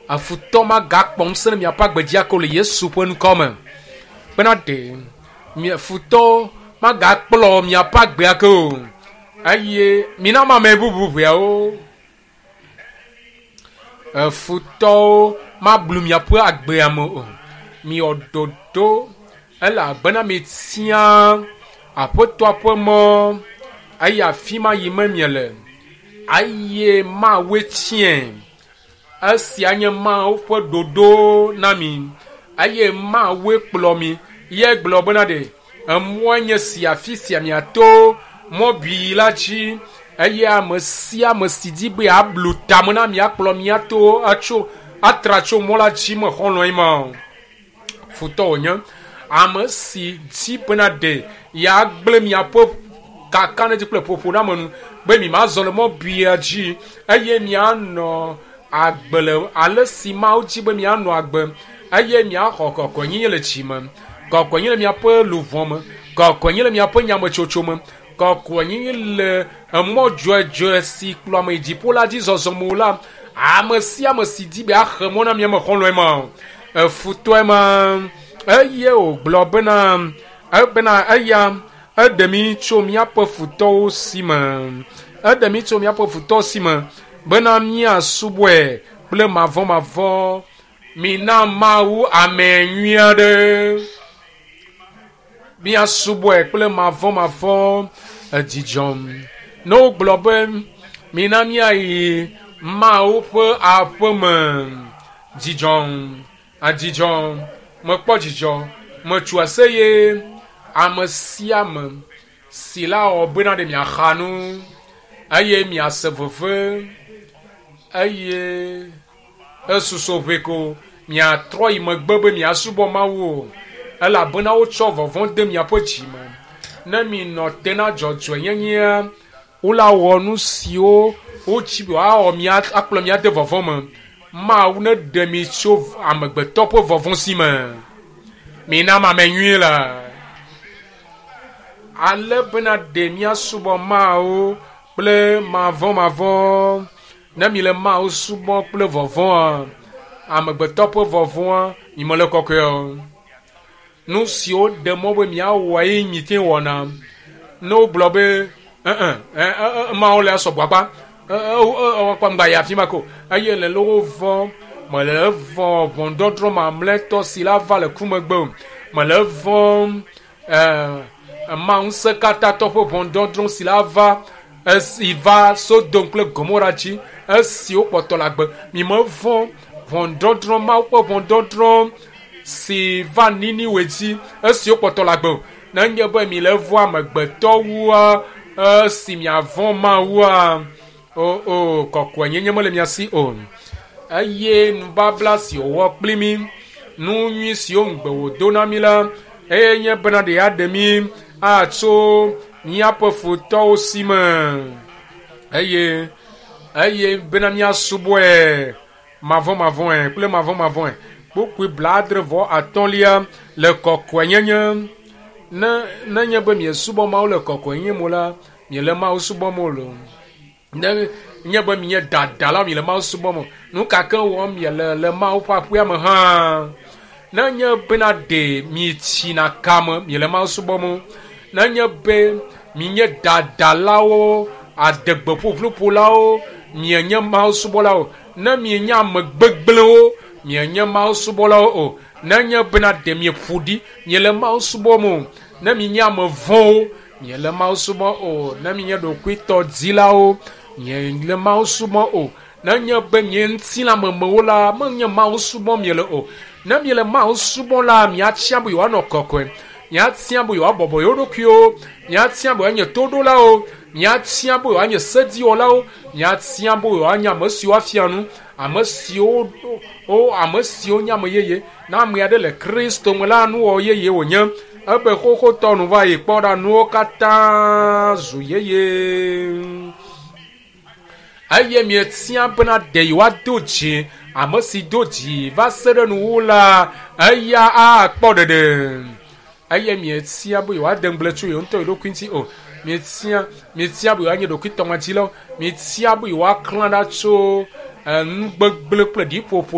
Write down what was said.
Afutɔ magakpɔ ŋusẽ ɖe miaƒe agbe dzi ake o le Yesu ƒe ŋkɔ me. Bena ɖe mia futɔ magakplɔ miaƒe agbe ake o. Eye mina ame bubu ʋeawo. Efutɔwo mablu miaƒe agbea me o. Miwɔ ɖoɖo elabena mietia aƒetɔa ƒe mɔ eye afi ma yi me miele eye Mawue tiae. Esia nye Mawu ƒe ɖoɖo na mi eye Mawue kplɔ mi. Ye gblɔ bena ɖe emɔe nye si afi sia miato mɔ bii la dzi eye ame sia ame si di be yeablu tame na mi akplɔ miato atso atra tso mɔ la dzi me xɔlɔ̃e ma o. Futɔ wònye. Ame si di bena ɖe yeagblẽ miaƒe kakaɖedzi kple ƒoƒoname nu be mi mazɔ le mɔ bia dzi eye mianɔ agbe le ale si Mawu dzi be mianɔ agbe eye miaxɔ kɔkɔenyenye le dzi me, kɔkɔenyenye le miaƒe luʋɔ me, kɔkɔenyenye le miaƒe nyametsotso me, kɔkɔenyenye le emɔ dzɔdzɔe si kplɔ ame yi dziƒo la dzi zɔzɔ me o la, ame sia ame si di be axe mɔ na mia me xɔlɔ̃e ma o, efutɔe ma. Eye wògblɔ bena ebena eya eɖe mi tso míaƒe futɔwo si me. Eɖe mi tso míaƒe futɔwo si me bena míasubɔe kple mavɔmavɔ. Mina Mawu ame nyui aɖe. Míasubɔe kple mavɔmavɔ edzidzɔm. Ne wogblɔ be mina míayi Mawu ƒe aƒe me, dzidzɔm, adzidzɔ, mekpɔ dzidzɔ, metso aseye. Ame sia ame si la wɔ bena ɖe miaxa nu eye miase veve eye esusɔ ʋɛ ko miatrɔ yi megbe be miasubɔ Mawu o elabena wotsɔ vɔvɔ̃ de miaƒe dzi me. Ne minɔ te na dzɔdzɔenyenyea, wola wɔ nu siwo wotsi be woawɔ mia akplɔ mia de vɔvɔ̃ me. Mawu ne ɖe mi tso amegbetɔ ƒe vɔvɔ̃ si me. Mina ame nyui la. Ale bena ɖe míasubɔ Mawu kple mavɔmavɔ. Ne mi le Mawu subɔ kple vɔvɔ̃a, amegbetɔ ƒe vɔvɔ̃a, mi mele kɔkɔe o. Nu siwo ɖe mɔ be miawɔ ye mi te wɔna. Ne wogblɔ be ɛ Mawu le asɔgbɔ akpa, ewɔ ŋgba yi afi ma ko eye le le wo vɔ̃ mele vɔ̃ ʋɔnudɔdrɔ̃ mamlɛtɔ si la va le ku megbe o. Mele vɔ̃ Mawu ŋusẽkatãtɔ ƒe ʋɔnudɔdrɔ̃ si la va esi va Sodom kple Gomora dzi esi wokpɔtɔ le agbe. Mi mevɔ̃ ʋɔnudɔdrɔ̃ Mawu ƒe ʋɔnudɔdrɔ̃ si va Niniwe dzi esi wokpɔtɔ le agbe o. Nenye be mi le vɔ̃ amegbetɔwoa esi miavɔ̃ Mawua o o kɔkɔenyenye mele mia si o. Eye nubabla si wòwɔ kpli mi, nu nyui siwo ŋugbe wòdo na mi la, eye nye bena ɖe yeaɖe mi atso míaƒe futɔwo si me eye eye bena míasubɔe mavɔmavɔe kple mavɔmavɔe. Kpukpui 75 le kɔkɔenyenye. Ne nenye be miesubɔ Mawu le kɔkɔenyenye me la, miele Mawu subɔm o loo. Ne nye be mienye dadalawo miele Mawu subɔm o. Nu ka ke wɔm miele le Mawu ƒe aƒea me hã. Nenye bena ɖe mietsina kame miele Mawu subɔm o. Nenye be mienye dadalawo, adegbeƒuƒluƒolawo, mienye Mawu subɔlawo. Ne mienye ame gbegblẽwo, mienye Mawu subɔlawo o. Nenye bena ɖe mieƒo ɖi, miele Mawu subɔm o. Ne mienye ame vɔ̃wo, miele Mawu subɔm o. Ne mienye ɖokuitɔdilawo, miele Mawu subɔm o. Nenye be mie ŋutilãmemewo la, menye Mawu subɔm miele o. Ne miele Mawu subɔm la, miatia be yewoanɔ kɔkɔe. Miatia be yewoabɔbɔ yewo ɖokuiwo. Miatia be yewoanye toɖolawo. Miatia be yewoanye sediwɔlawo. Miatia be yewoanye ame siwo afia nu. Ame siwo wo ame siwo nye ame yeye. Ne ame aɖe le Kristo me la, nuwɔwɔ yeye wònye. Ebe xoxotɔ nu va yi kpɔ ɖa nuwo katã zu yeye. Eye mietia bena ɖe yewoado dzi ame si do dzi va se ɖe nuwuwu la, eya akpɔ ɖeɖe. Eye mietia be yewoade ŋugble tso yewo ŋutɔ yewo ɖokui ŋuti o. Mietia mietia be yewoanye ɖokuitɔmadilawo. Mietia be yewoaklã ɖa tso nu gbegblẽ kple ɖiƒoƒo.